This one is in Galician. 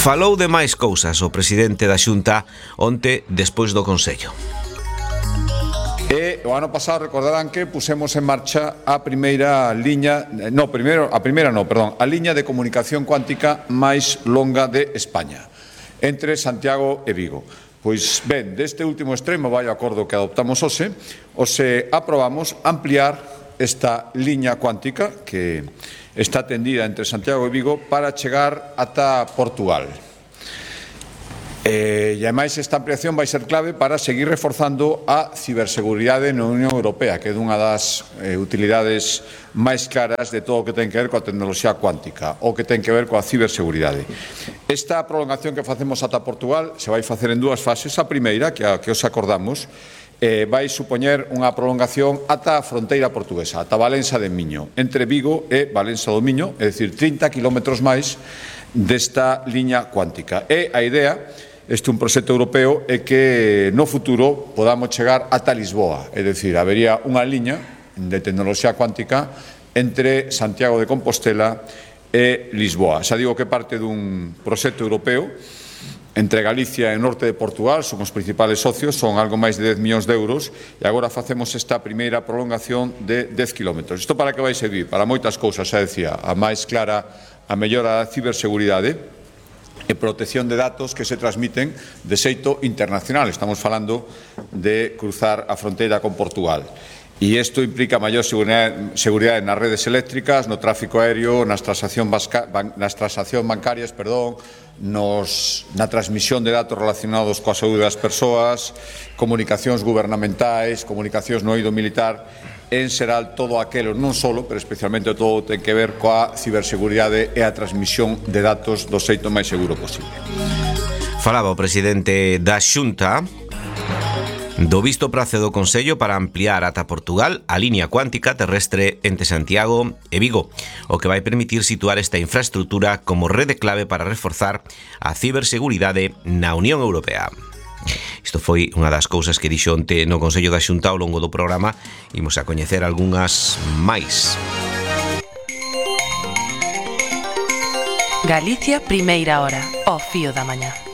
Falou de máis cousas o presidente da Xunta onte despois do Consello. E o ano pasado recordarán que pusemos en marcha a primeira liña, a liña de comunicación cuántica máis longa de España, entre Santiago e Vigo. Pois ben, deste último extremo vai o acordo que adoptamos hoxe aprobamos ampliar esta liña cuántica que está tendida entre Santiago e Vigo para chegar ata Portugal. E ademais esta ampliación vai ser clave para seguir reforzando a ciberseguridade na Unión Europea, que é unha das utilidades máis claras de todo o que ten que ver coa tecnoloxía cuántica, ou que ten que ver coa ciberseguridade. Esta prolongación que facemos ata Portugal se vai facer en dúas fases. A primeira, que os acordamos, vai supoñer unha prolongación ata a fronteira portuguesa, ata Valença de Miño, entre Vigo e Valença do Miño, é dicir, 30 kilómetros máis desta liña cuántica. E a idea, este é un proxecto europeo, é que no futuro podamos chegar ata Lisboa, é dicir, habería unha liña de tecnoloxía cuántica entre Santiago de Compostela e Lisboa. Xa digo que parte dun proxecto europeo entre Galicia e o norte de Portugal, son os principales socios, son algo máis de 10 millóns de euros, e agora facemos esta primeira prolongación de 10 kilómetros. Isto para que vai servir? Para moitas cousas, xa decía, a máis clara, a mellora da ciberseguridade e protección de datos que se transmiten de xeito internacional. Estamos falando de cruzar a fronteira con Portugal. E isto implica maior seguridade nas redes eléctricas, no tráfico aéreo, nas transaccións bancarias, na transmisión de datos relacionados coa saúde das persoas, comunicacións gubernamentais, comunicacións no eido militar, en xeral todo aquelo, non solo, pero especialmente todo ten que ver coa ciberseguridade e a transmisión de datos do xeito máis seguro posible. Falaba o presidente da Xunta do visto prazo do Consello para ampliar ata Portugal a liña cuántica terrestre entre Santiago e Vigo, o que vai permitir situar esta infraestrutura como rede clave para reforzar a ciberseguridade na Unión Europea. Isto foi unha das cousas que dixo onte no Consello da Xunta ao longo do programa. Imos a coñecer algunhas máis. Galicia, primeira hora, ao fío da mañá.